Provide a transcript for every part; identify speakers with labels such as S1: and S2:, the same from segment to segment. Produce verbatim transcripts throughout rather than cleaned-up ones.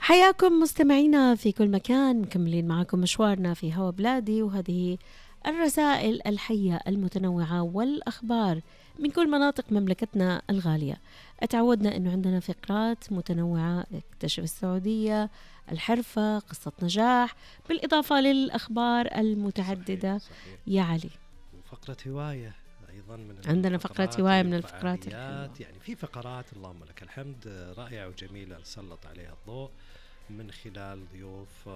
S1: حياكم مستمعينا في كل مكان، مكملين معكم مشوارنا في هوا بلادي، وهذه الرسائل الحية المتنوعة والأخبار من كل مناطق مملكتنا الغالية. اتعودنا أنه عندنا فقرات متنوعة، اكتشف السعودية، الحرفة، قصة نجاح، بالإضافة للأخبار المتعددة. صحيح صحيح. يا علي،
S2: وفقرة هواية أيضا من
S1: عندنا فقرة هواية من الفقرات
S2: الحلوة. يعني في فقرات اللهم لك الحمد رائعة وجميلة نسلط عليها الضوء من خلال ضيوف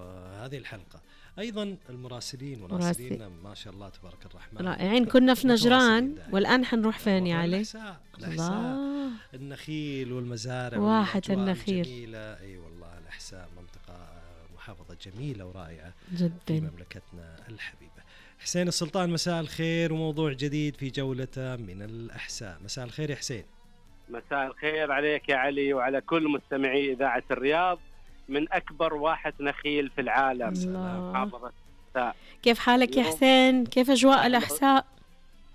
S2: هذه الحلقة. أيضا المراسلين مراسلين ما شاء الله تبارك الرحمن
S1: رائعين. كنا في نجران والآن حنروح فين يا علي؟
S2: الأحساء. الأحساء النخيل والمزارع
S1: واحة النخيل
S2: جميلة. أي والله الأحساء منطقة محافظة جميلة ورائعة
S1: جدا
S2: في مملكتنا الحبيبة. حسين السلطان، مساء الخير، وموضوع جديد في جولة من الأحساء. مساء الخير يا حسين.
S3: مساء الخير عليك يا علي وعلى كل مستمعي إذاعة الرياض من أكبر واحة نخيل في العالم.
S1: محافظة. كيف حالك يا حسين؟ كيف أجواء الأحساء؟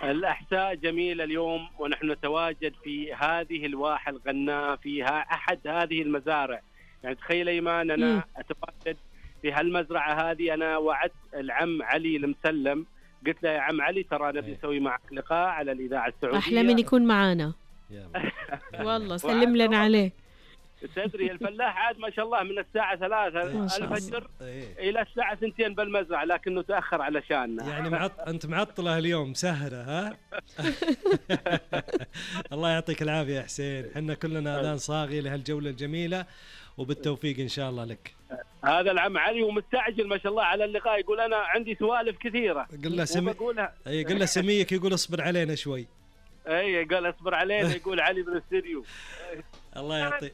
S3: الأحساء جميلة اليوم، ونحن نتواجد في هذه الواحة الغناء فيها أحد هذه المزارع. يعني تخيل إيمان أنا م. أتواجد في هالمزرعة هذه. أنا وعدت العم علي المسلم، قلت له يا عم علي ترى نبي نسوي معك لقاء على الإذاعة السعودية،
S1: أحلى من يكون معانا والله. سلم لنا عليه.
S3: تدري الفلاح عاد ما شاء الله من الساعة ثلاثة الفجر إلى الساعة سنتين بالمزرعة، لكنه تأخر علشاننا.
S2: يعني معط... أنت معطلة اليوم سهرة ها؟ الله يعطيك العافية يا حسين، حنا كلنا أذان صاغي لهالجولة الجميلة، وبالتوفيق إن شاء الله لك.
S3: هذا العم علي ومستعجل ما شاء الله على اللقاء، يقول أنا عندي سوالف كثيرة.
S2: قل له سمي... أي قل له سميك، يقول اصبر علينا شوي.
S3: أي قال اصبر علينا، يقول علي بالاستديو.
S2: الله يعطي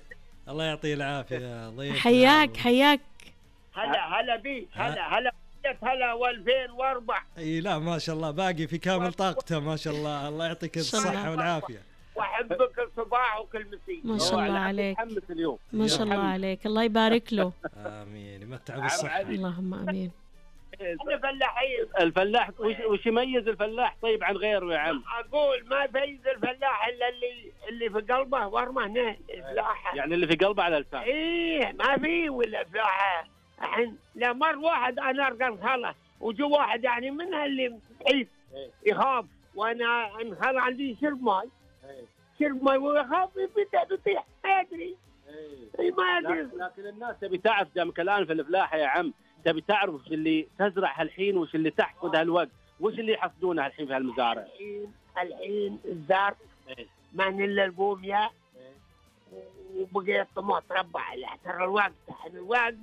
S2: الله يعطيه العافية ضيف.
S1: حياك حياك.
S4: هلا هلا بيك. هلا هلا هلا والفين واربع.
S2: اي لا ما شاء الله باقي في كامل طاقته ما شاء الله. الله يعطيك الصحة والعافية.
S4: واحبك الصباح وكل مساء.
S1: ما شاء الله عليك.
S3: اليوم
S1: ما شاء الله عليك، الله يبارك له.
S2: امين، يمتع بالصحة.
S1: اللهم امين.
S4: احنا فلاحين.
S3: الفلاح وش, وش يميز الفلاح طيب عن غيره يا عم؟
S4: اقول ما يميز الفلاح الا اللي اللي في قلبه ورمه هنا الفلاحه.
S3: يعني اللي في قلبه على لسانه.
S4: ايه ما في ولا فلاحه. الحين لا مر واحد انا ارقى الخلا وجو واحد يعني منها اللي بعيد يخاف، وانا انخلى عندي شرب ماي شرب ماي ويخاف يبدا بيطيح ما يدري. اي ما يدري.
S3: لكن الناس تبي تعرف دامك الان في الفلاحه يا عم، تبي تعرف وش اللي تزرع هالحين وش اللي تحصد هالوقت، وش اللي يحصدونه الحين في هالمزارع.
S4: الحين الحين الزرع ما الا البوميا وبقي الطماط تربع ترى الوقت. الحين الوقت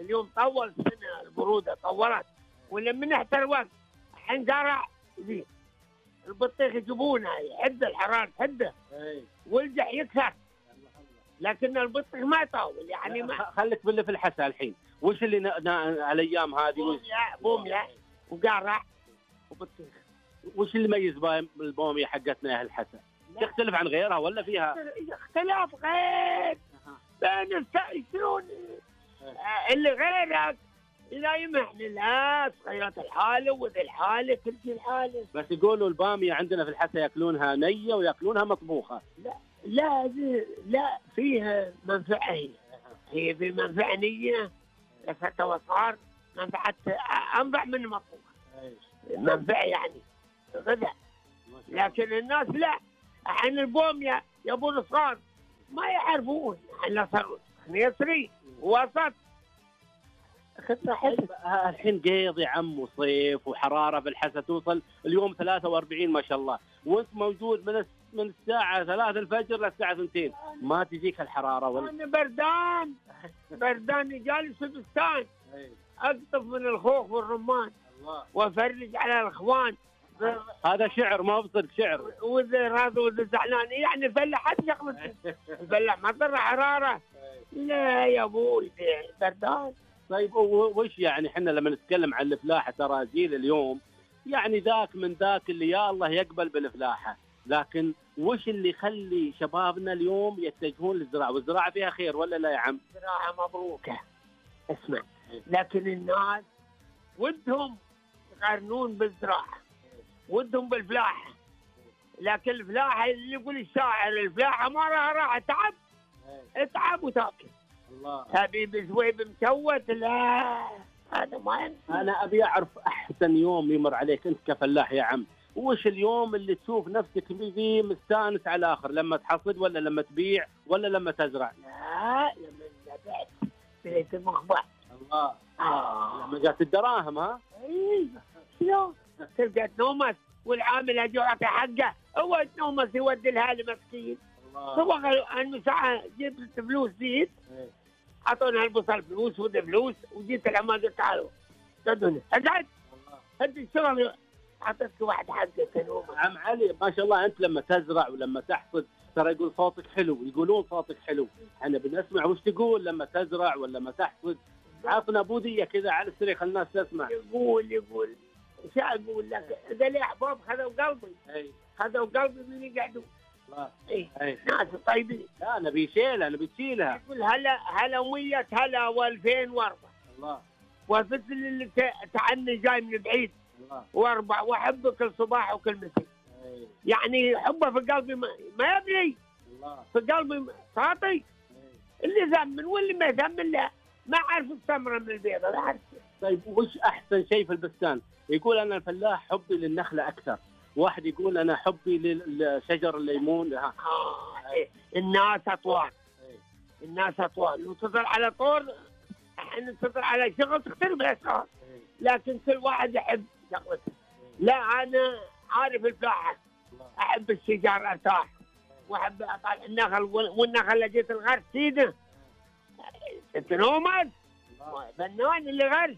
S4: اليوم طول سنه، البروده طولت ولا من احتر الوقت. الحين زرع زين البطيخ يجيبونه يحد الحراره حده والجح يكسر، لكن البطيخ ما يطول يعني. ما
S3: خليك باللي في الحسا الحين. وش اللي على الايام هذه؟
S4: بوميا بوميا وقارع وبطيخ.
S3: وش اللي يميز بالبوميا حقتنا يا الحسا؟ تختلف عن غيرها ولا فيها
S4: اختلاف غير بين شلون اللي غيرك لا يمحن لا صغيرة الحالة وذي الحالة كل شيء الحالة.
S3: بس يقولوا البامية عندنا في الحسا ياكلونها نية وياكلونها مطبوخة.
S4: لا لا لا فيها منفعة. هي هي في منفعة نية لفتة وصار منفعة أنفع من المطبوخة. منفعة يعني غذاء. لكن الناس لا، الحين البومية يبون صغار ما يعرفون. الحين صاروا يسري وسط
S3: الحين قيض يا عم وصيف وحرارة في الحسا توصل اليوم ثلاثة وأربعين ما شاء الله، وانت موجود من من الساعة ثلاثة الفجر للساعة ثنتين ما تجيك الحرارة ولا؟
S4: أنا بردان بردان جالس في بستان أقطف من الخوخ والرمان وأفرج على الأخوان.
S3: هذا شعر ما بصدق شعر.
S4: وإذا راضي وإذا زعلان يعني فلاح حد شغلته. الفلاح ما ضر حرارة. لا يا أبوي بردان.
S3: طيب وش يعني احنا لما نتكلم عن الفلاحة ترى جيل اليوم يعني ذاك من ذاك اللي يا الله يقبل بالفلاحة، لكن وش اللي يخلي شبابنا اليوم يتجهون للزراعة؟ والزراعة فيها خير ولا لا يا عم؟
S4: زراعة مبروكة اسمع، لكن الناس ودهم يقارنون بالزراعة ودهم بالفلاحة، لكن الفلاحة اللي يقول الشاعر الفلاحة ما لها راحة تعب اتعب وتاكل.
S3: الله.
S4: حبيب زويب مشوت، لا هذا ما يمشي.
S3: انا ابي اعرف احسن يوم يمر عليك انت كفلاح يا عم، وش اليوم اللي تشوف نفسك فيه مستانس على الاخر؟ لما تحصد ولا لما تبيع ولا لما تزرع؟
S4: لا لما بعت بيت المخبأ.
S3: الله.
S4: آه.
S3: لما جات الدراهم. ها
S4: اي شلون تلقى تنومس والعامل اجي يعطي حقه، هو تنومس يودي لها المسكين. هو قالوا انه ساعه جبت فلوس زيت، اعطونا البصل فلوس وده فلوس، وجيت العمال قلت تعالوا تدوني اقعد هدي الشغل، اعطيتك واحد حقه تنومس.
S3: عم علي ما شاء الله، انت لما تزرع ولما تحصد ترى يقول صوتك حلو، يقولون صوتك حلو، احنا بنسمع وش تقول لما تزرع ولا لما تحصد. عطنا بوديه كذا على السريع خلي الناس تسمع.
S4: يقول يقول ايش اقول لك؟ اذا لي احباب خذوا قلبي،
S3: اي
S4: خذوا قلبي من يقعدوا.
S3: الله.
S4: اي
S3: اي
S4: ناس طيبين.
S3: لا نبي شيلها، نبي تشيلها.
S4: يقول هلا هلا مية هلا والفين واربع.
S3: الله.
S4: والفصل اللي ت- تعني جاي من بعيد.
S3: الله.
S4: واربع واحبه كل صباح وكل مساء.
S3: اي
S4: يعني حبه في قلبي ما, ما يبني،
S3: الله.
S4: في قلبي ساطي. اللي ذمن واللي ما ذمن لا ما عارف الثمره من البيضه، لا عارف.
S3: طيب وش احسن شيء في البستان؟ يقول انا الفلاح حبي للنخله اكثر، واحد يقول انا حبي للشجر الليمون. ها.
S4: آه. إيه. الناس اطوال، الناس اطوال، لو تطلع على طول احنا تطلع على شغل تختلف الاسعار، لكن كل واحد يحب شغلته. لا انا عارف الفلاحه، احب الشجر ارتاح، واحب اطلع النخل، والنخل اللي جيت الغرس سيده تنومس فنان اللي غرس.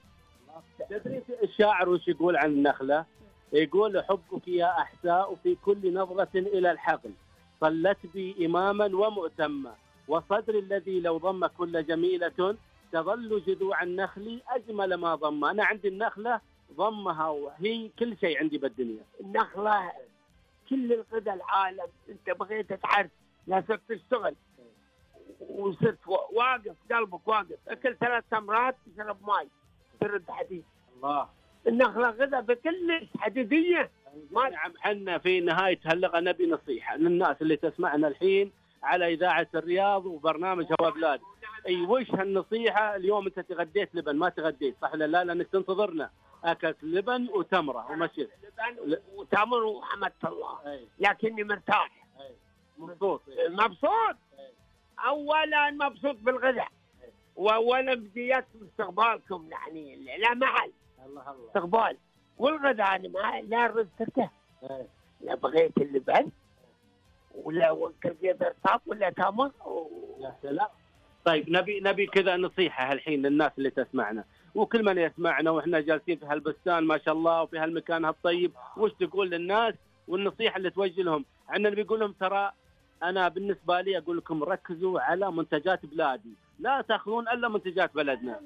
S3: تدري الشاعر وش يقول عن النخله؟ يقول حبك يا احساء في كل نظره الى الحقل، صلت بي اماما ومؤتما، وصدري الذي لو ضم كل جميله، تظل جذوع النخل اجمل ما ضم. انا عندي النخله ضمها وهي كل شيء عندي بالدنيا.
S4: النخله كل الغذاء العالم. انت بغيت تعرف، لا صرت تشتغل وصرت واقف قلبك واقف، اكل ثلاث تمرات تشرب ماي ترد حديد.
S3: الله.
S4: النخله غذاء بكل حديديه.
S3: ما نعم حنا في نهايه هاللغه نبي نصيحه للناس اللي تسمعنا الحين على اذاعه الرياض وبرنامج هوا بلاد. اي وش هالنصيحه اليوم؟ انت تغديت لبن ما تغديت صح ولا لا؟ لانك تنتظرنا. اكلت لبن وتمره ومشيت.
S4: لبن وتمر وحمدت الله. لكني مرتاح.
S3: مبسوط.
S4: مبسوط. اولا مبسوط بالغذاء، واولا بديت استقبالكم يعني لا محل.
S3: الله الله.
S4: استقبال والغذاء انا ما لا رز تركه، لا بغيت اللبن ولا وكلت رطاب ولا تمر.
S3: يا سلام. طيب نبي نبي كذا نصيحه الحين للناس اللي تسمعنا وكل من يسمعنا واحنا جالسين في هالبستان ما شاء الله وفي هالمكان هالطيب، وش تقول للناس والنصيحه اللي توجه لهم؟ عندنا بيقول لهم ترى انا بالنسبه لي اقول لكم ركزوا على منتجات بلادي، لا تاخذون الا منتجات بلدنا.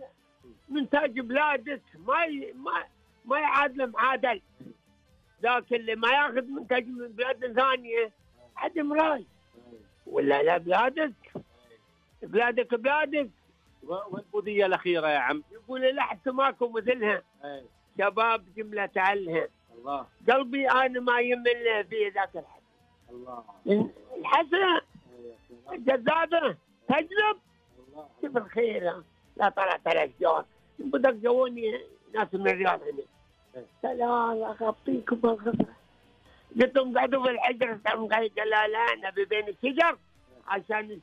S4: منتج بلادك ما ي... ما ما يعادل معادل، ذاك اللي ما ياخذ منتج من بلاد ثانيه عدم راي. ولا لا بلادك بلادك بلادك.
S3: والبوديه الاخيره يا عم
S4: يقول لحت ماكو مثلها.
S3: أي.
S4: شباب جمله علها.
S3: الله.
S4: قلبي انا ما يمل في ذاك الحد.
S3: الله.
S4: الحسنه الجذابه تجلب. شوف الخير لا طلعت على الاشجار بدك جوني ناس من الرياض هنا. سلام اغطيكم بالغفره. قلت لهم قعدوا في الحجر قال لا لا نبي بين الشجر عشان